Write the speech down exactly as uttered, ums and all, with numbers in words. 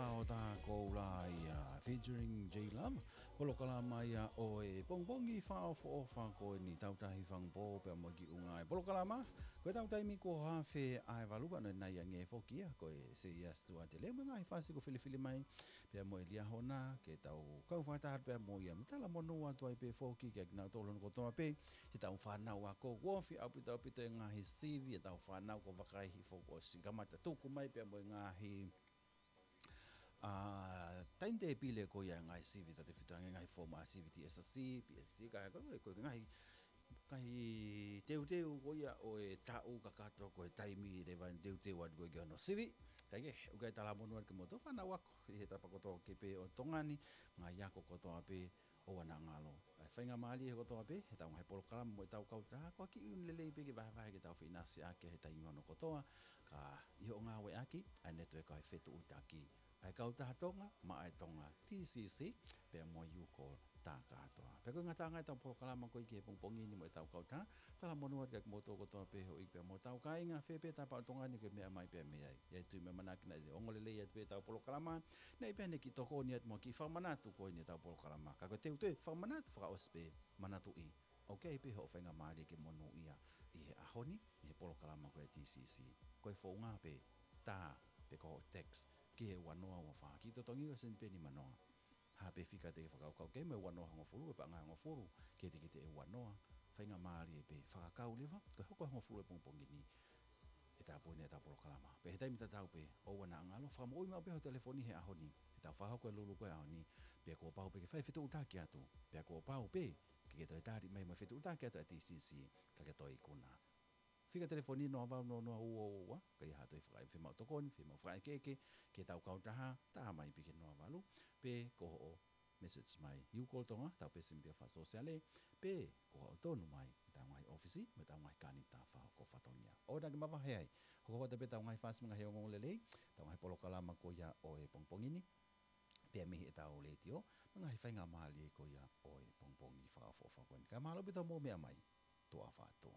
ʻo tā koula ia, featuring J Love. Polokalama ia ʻo e pongipongi fakaʻofoʻofa ko eni, Tautahi Fangupō pea mo e kiʻi ʻū ngaahi polokalama. Ko e tau taimi ko e haafe ʻa e valu pea ʻoku ʻi ai ange foki ia, ko e Seia Stuart Leo mo e ngaahi fasi kuo filifili mai pea mo e Liahona, ke tau kau fakataha pea mo ia, mo talamonū atu ai pē foki kiate kinautolu hono kotoa pē, ke tau fānau ako, ʻoku ofi ʻaupito ʻaupito e ngaahi sivi ʻetau fānau, ko e vakai hifo kuo ʻosi kamata tuku mai pea mo e ngaahi, ʻa, taimi tēpile ko ia e ngaahi sivi, tautefito ange e ngaahi foomu ʻa e sivi T S C, P S C, ka ko e, ko e ngaahi, ngaahi teuteu ko ia ʻo e taʻu kakato, ko e taimi leva ʻeni teuteu atu ko ē ki hono sivi. Kae kehe, ʻoku ʻi ai e talamonū atu kiate kimoutolu fānau ako ʻi he tapa kotoa pē ʻo Tonga ni, ngaahi ako kotoa pē, ʻoua naʻa ngalo. ʻA e faingamālie kotoa pē, heʻetau ngaahi polokalama mo ʻetau kautaha, ko e kiʻi ʻuhinga lelei pē ke vahevahe ke tau feʻinasiʻaki he taimi hono kotoa, ka ʻi hoʻo ngāueʻaki ʻa e netiueka ʻo e fetuʻutaki ʻa e Kautaha Tonga maʻa e Tonga, T C C, pea mo e U-Call tā kātoa. Pea ko e ngataʻanga ʻetau polokalama ko ē ki he pongipongi ni mo ʻetau kautaha, talamonū atu kiate kimoutolu kotoa pē houʻeiki pea mo hotau kāinga, fē pē tapa ʻo Tonga ni ʻoku ke meʻa mai pea mei ai. ʻI ai e tui mo e ʻamanaki naʻe ongo lelei atu pē ʻetau polokalama, naʻe ʻi ai pē haʻane kiʻi tokoni atu mo e kiʻi fakamanatu ko eni ʻetau polokalama. Ka ko e teuteu fakamanatu fakaʻosi pē, manatuʻi, ʻoku ʻi ai pē hoʻo faingamālie ke monūʻia ʻi he ʻaho ni, ʻi he polokalama ko ē T C C. Ko e founga pē, tā, pe ko hoʻo text, ki he ua noa ua fā, kiʻi totongi ʻo e seni pē nima noa. Hā pē fika te ke fakakaukau, ki he ua noa hongofulu, pe paʻanga hongofulu, kiate kitautolu ua noa, faingamālie pē, fakakau leva, ko e hoko hongofulu e pongipongi ni, ʻe tāpuni ʻetau polokalama. Pea he taimi tatau pē, ʻoua naʻa ngalo, fakamoʻui maʻu pē hoʻo telefoni he ʻaho ni, te tau fakahoko e lūlū ko ē ʻaho ni, pea kuo pau pē ke fai fetuʻutaki atu, pea kuo pau pē ke ke toe tali mai mo e fetuʻutaki atu ʻa e T C C, ka ke toe ikuna. Fika telefoni noa valu noa noa ua ua ua, ka ʻi ai ha toe fakaʻekeʻeke, fiemaʻu tokoni, fiemaʻu fakaʻekeʻeke ki heʻetau kautaha, tā mai pē ki he noa valu, pe ko hoʻo message mai U-Call Tonga, ʻetau peesi mita fakasōsiale, pe ko hoʻo tonu mai ʻi heʻetau ngaahi ʻōfisi, mo ʻetau ngaahi kānita fakahoko fatongia. ʻOua naʻa ke mavahe ai, hoko atu pē ʻetau ngaahi fasi mo e ngaahi ongoongolelei, ʻetau ngaahi polokalama ko ia ʻo e pongipongi ni, pea mei heʻetau letiō, mo e ngaahi faingamālie ko ia ʻo e pongipongi fakaʻofoʻofa ko eni. Kae mālō ʻaupito hoʻomou meʻa mai, tuʻa ʻofa atu.